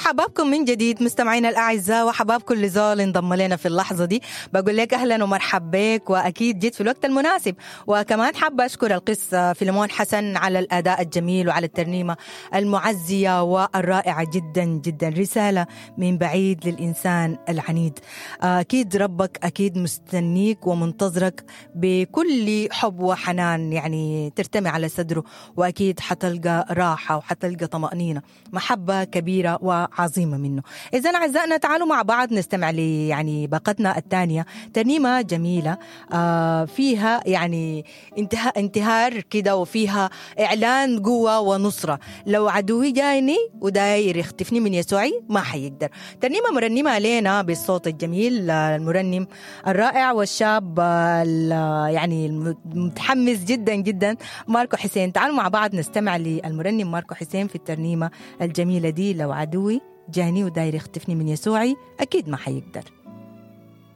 حبابكم من جديد مستمعينا الأعزاء، وحباب كل زول انضم لنا في اللحظة دي. بقول لك أهلا ومرحب بك، وأكيد جيت في الوقت المناسب. وكمان حابة أشكر القس فيلمون حسن على الأداء الجميل وعلى الترنيمة المعزية والرائعة جدا جدا، رسالة من بعيد للإنسان العنيد. أكيد ربك أكيد مستنيك ومنتظرك بكل حب وحنان، يعني ترتمي على صدره وأكيد حتلقى راحة وحتلقى طمأنينة، محبة كبيرة وعظيمة منه. إذا أعزائنا تعالوا مع بعض نستمع لي يعني باقتنا الثانية، ترنيمة جميلة فيها يعني انتهار كده، وفيها إعلان قوة ونصرة. لو عدوي جايني وداير يختفني من يسوعي ما حيقدر. ترنيمة مرنمة علينا بالصوت الجميل، المرنم الرائع والشاب يعني المتحمس جدا جدا ماركو حسين. تعالوا مع بعض نستمع للمرنم ماركو حسين في الترنيمة الجميلة دي، لو عدوي جاني وداير يختفني من يسوعي أكيد ما حيقدر.